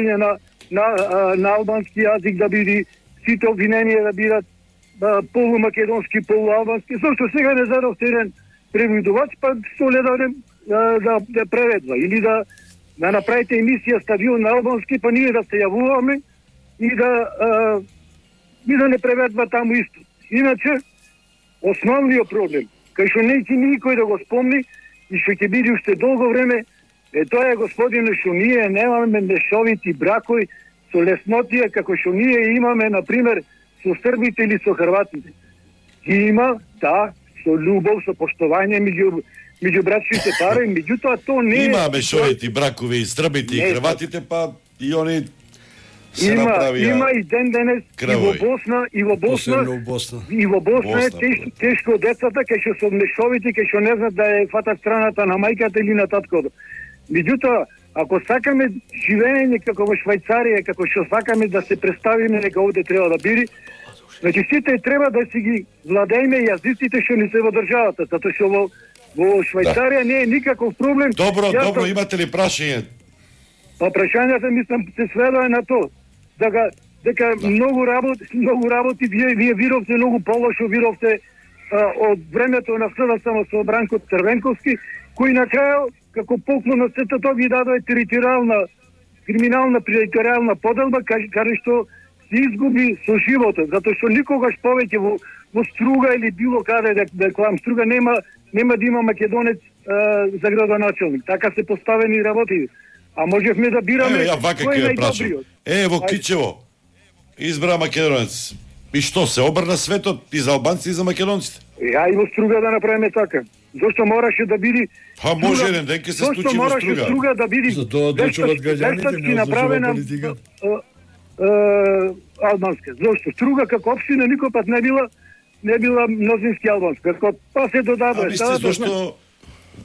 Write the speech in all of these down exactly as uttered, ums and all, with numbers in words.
на на на албански јазик, да биде сите обвиненија да бидат полумакедонски, полуалбански. Зошто сега не задовте еден преведувач, па што леда да, да, да преведва или да да направите емисија стадион на албански, па ние да се јавуваме и да а, и да не преведва таму исто. Иначе основниот проблем, кај што не ќе никој да го спомни и што ќе биде уште долго време, е тоа е, господине, што ние немаме мешовити бракови со леснотија како што ние имаме, например, со србите или со хрватите. Ги има, да, со љубов, со поштовање меѓу меѓу брачните пари, меѓутоа то не е... Има мешовити бракови и србите и хрватите, па и они се има, направија има и ден денес и во Босна, и во Босна, Босна. и во Босна, Босна е тешко, тешко децата, кај што со мешовите, кај што не знаат да е фатат страната на мајката или на таткото. Меѓутоа, ако сакаме живење како во Швајцарија, како што сакаме да се представиме дека овде треба да биде, значи сите треба да си ги владееме јазиците што ни се во државата, затоа што во во Швајцарија да. не е никаков проблем. Добро, Јас добро, да... имате ли прашање? Па прашањата мислам се сведува на то. Дека дека да. многу работи, многу работи вие вие вировте многу полошо вировте а, од времето на СДСМ со Бранко Црвенковски, кој на крај како поклон на сето тоа ги дадоа територијална криминална територијална поделба каде што се изгуби со животот, затоа што никогаш повеќе во во Струга или било каде да, да клам Струга нема нема да има македонец а, за градоначелник. Така се поставени работи. А можевме да бираме е, ја вака кој е ќе прашам. Е, во Кичево избра македонец. И што се обрна светот и за албанци и за македонците? Ја и во Струга да направиме така. Зошто мораше да биде Па може еден ден ќе се случи во Струга. Зошто мораше Струга да биде за тоа одлучуваат граѓаните, не одлучува политика. Албанска. Зошто Струга како општина никој пат не била не била мнозински албанска. Како па се додаде. А мислите зашто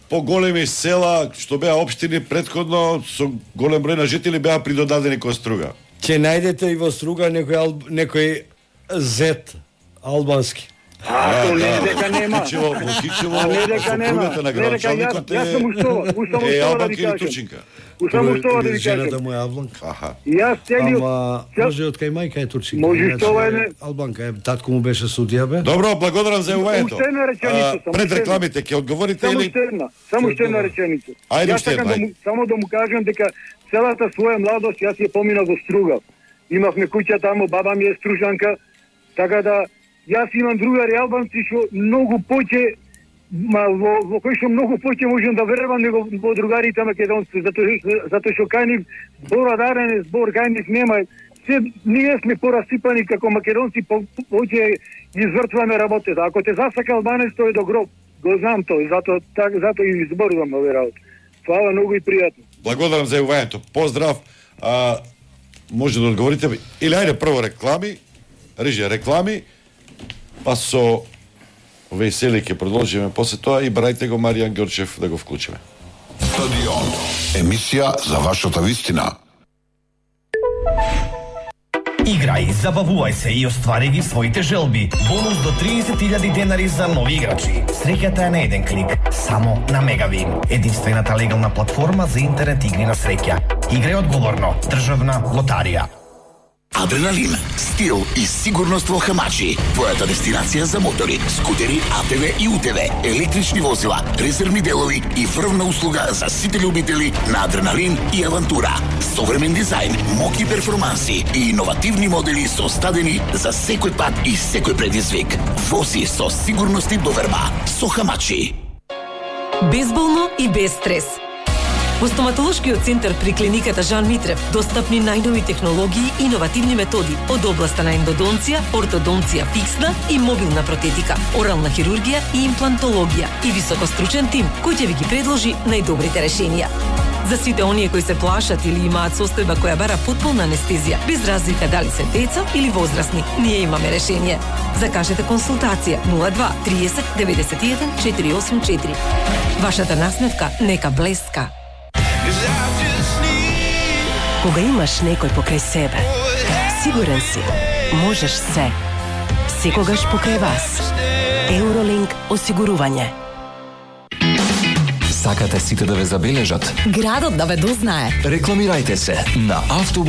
поголеми села што беа општини претходно со голем број на жители беа придодадени кон Струга? Ќе најдете и во Струга некој ал... некој зет албански. А, то не е дека нема. Кичево, во Кичево, А не дека нема. сопругата на градоначалникот е... Јас сум уштова, уштава Е, уштова да ви албанка или кажам. турчинка? Уштава уштова да ви Жената кажам. му е албанка. Аха. Јас целиот... Ама може од кај мајка е турчинка. Може иначе што е не- албанка е, татко му беше судија бе. Добро, благодарам за јавувањето. Уште една реченица, само Пред уште една. рекламите ќе одговорите Само или уште една, само уште една реченица. Ајде, Јас уште сакам една, да му, само да му кажам дека целата своја младост јас ја поминав во Струга. Имавме куќа таму, баба ми е стружанка, така да јас имам другари албанци што многу поќе ма во, во кој што многу поќе можам да верувам него во другарите македонци, затоа затоа што кај нив зборадарен збор кај нив нема. Се ние сме порасипани како македонци, по, поќе извртваме работата. Ако те засака албанец, тој е до гроб. Го знам тој, затоа так затоа и изборувам овие работи. Фала многу и пријатно. Благодарам за јавувањето. Поздрав. А, може да одговорите или ајде прво реклами, режија реклами, па со весели ќе продолжиме после тоа и барајте го Маријан Ѓорчев да го вклучиме. Стадион. Емисија за вашата вистина. Играј, забавувај се и оствари ги своите желби. Бонус до триесет илјади денари за нови играчи. Среќата е на еден клик, само на Мегавин. Единствената легална платформа за интернет игри на среќа. Играј одговорно. Државна лотарија. Адреналин, стил и сигурност во Хамачи. Твојата дестинација за мотори, скутери, А Т В и У Т В, електрични возила, резервни делови и врвна услуга за сите љубители на адреналин и авантура. Современ дизајн, моки перформанси и иновативни модели составени за секој пат и секој предизвик. Вози со сигурност и доверба со Хамачи. Безболно и без стрес. Во стоматолошкиот центар при клиниката Жан Митрев достапни најнови технологии и иновативни методи од областа на ендодонција, ортодонција фиксна и мобилна протетика, орална хирургија и имплантологија и високостручен тим кој ќе ви ги предложи најдобрите решенија. За сите оние кои се плашат или имаат состојба која бара потполна анестезија, без разлика дали се деца или возрастни, ние имаме решение. Закажете консултација нула два триесет деветдесет и еден четири осум четири. Вашата насмевка нека блеска. Кога имаш некој покрај себе, сигурен си, можеш се. Секогаш покрај вас. Евролинк осигурување. Сакате сите да ве забележат? Градот да ве дознае. Рекламирајте се на автобус